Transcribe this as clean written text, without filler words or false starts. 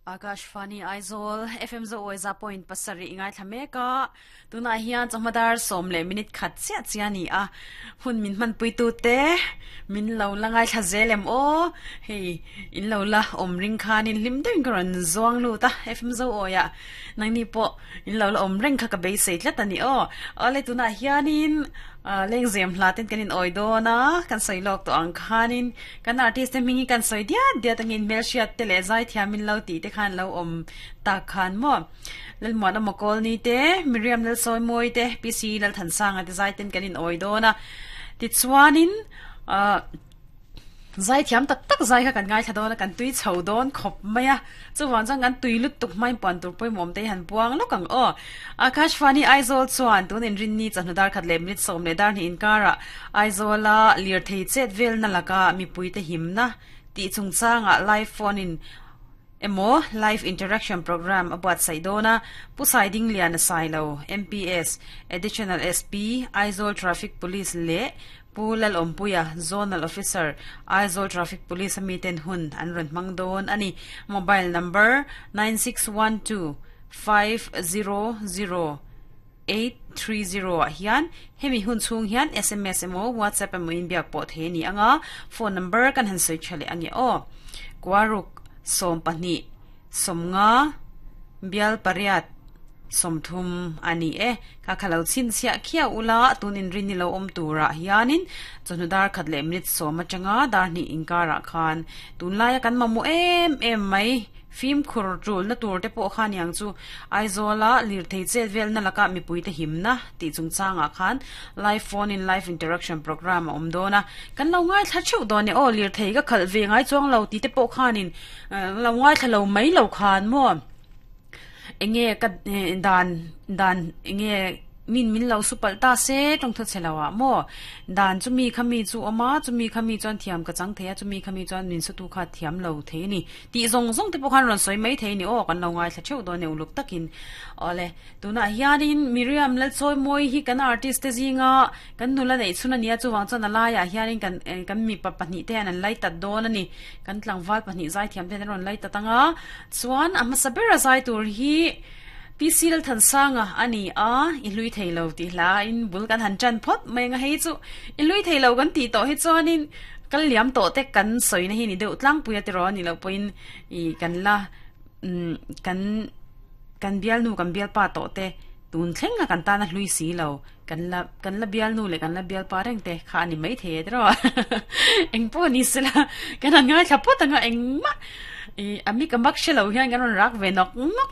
Akashvani Aizawl FM zo awi za point pasarih i ngaithla mek a, tunah hian chawhma dar sawm leh minute khat chiah chiah a ni a, hun min hmanpui tute min lo la ngaithla zel em aw, hei in lo la awm ring khanin hlim deuhin ka rawn zuang lut a FM zo awiah nangni pawh in lo la awm reng kha ka beisei tlat a ni aw, awle tunah hianin lengzem hla ten kan in awi dawn a, kan sawi lawk tawh ang khanin Kan artist te hming hi kan sawi diat diat angin hmelhriat te leh zaithiam in lo tih te khan lo awm tak khan maw. Lalmuan Awma Kawlni te, Miriam Lalsawimawi te, PC Lalthansanga te zai ten kan in awi dawn a. Tichuanin ahh zaithiam tak tak zai kha kan ngaithla dawn a, kan tui chho dawn khawp mai a. Chuvang chuan kan tui lut tuk hmain puan tur pawimawm te hi han puang lawk ang aw. Akashvani Aizawl chuan tun inrinni chawhnu dar khat leh minute sawm leh dar hnih inkarah Aizawla lirthei chet velna laka mipuite himna tih chungchangah live phone in emaw live interaction programme a buatsaih dawn a, Pu Saidingliana Sailo, MPS, Additional SP, Aizawl Traffic Police leh Pu Lalawmpuia, Zonal Officer, Aizawl Traffic Police a miten hun an rawn hmang dawn a ni. Mobile number, 9612500830 ah hian hemi hun chhung hian sms emaw WhatsApp emaw in biak pawh thei a ni ang a, phone number kan han sawi tha leh ang e aw. Kuaruk, 12, 50, bial pariat, 30 a ni e. Ka kha lo chhinchhiah khiau ula, tun inrin ni lo awm turah hianin chawhnu dar khat leh minute sawm atanga dar hnih inkarah khan tunlaia kan mamawh em em mai. Fimkhur tulna tur te pawh kha niang chu Aizawla lirthei chet velna laka mipuite himna tih chungchangah khan live phone in live interaction programme a awm dawn a, kan lo ngaithla theuh dawn e aw lirthei ka khalh ve ngai chuang lo tih te pawh khanin lo ngaithla lo mai lo khan maw. Enge ka dan dan enge min min lo su palh ta se tawng thaw chhe lo ah maw dan chumi kha mi chu awm a chumi kha mi chuan thiam ka chang thei a chumi kha mi chuan min su tu kha thiam lo thei a ni tih zawng zawng te pawh khan rawn sawi mai thei a ni aw kan lo ngaithla theuh dawn e uluk takin awle tunah hianin Miriam Lalchawimawi hi kan artist te zinga kan nula neih chhun a nia chuvang chuan a laiah hianin kan kan mipa pahnih te hian an lai tat dawn a ni kan tlangval pahnih zaithiam te hian an rawn lai tat ang a. Chuan a hmasa bera zai tur hi PC Lalthansanga a ni a, i hlui thei lo tih hlain bul kan han tan phawt mai ang a, hei chu i hlui thei lo kan tih tawh hi chuanin kal liam tawh te kan sawina hi ni deuh tlangpui a tiraw a nih loh pawhin ih kan la umm kan kan bialnu kan bialpa tawh te tun thleng a kan tan a hlui si lo kan la kan la bialnu leh kan la bialpa reng te kha a ni maithei e tiraw engpawh ni sela kan han ngaithla phawt ang a engmah ih a mik a mak hre lo hian kan rawn rak ve nawk nawk.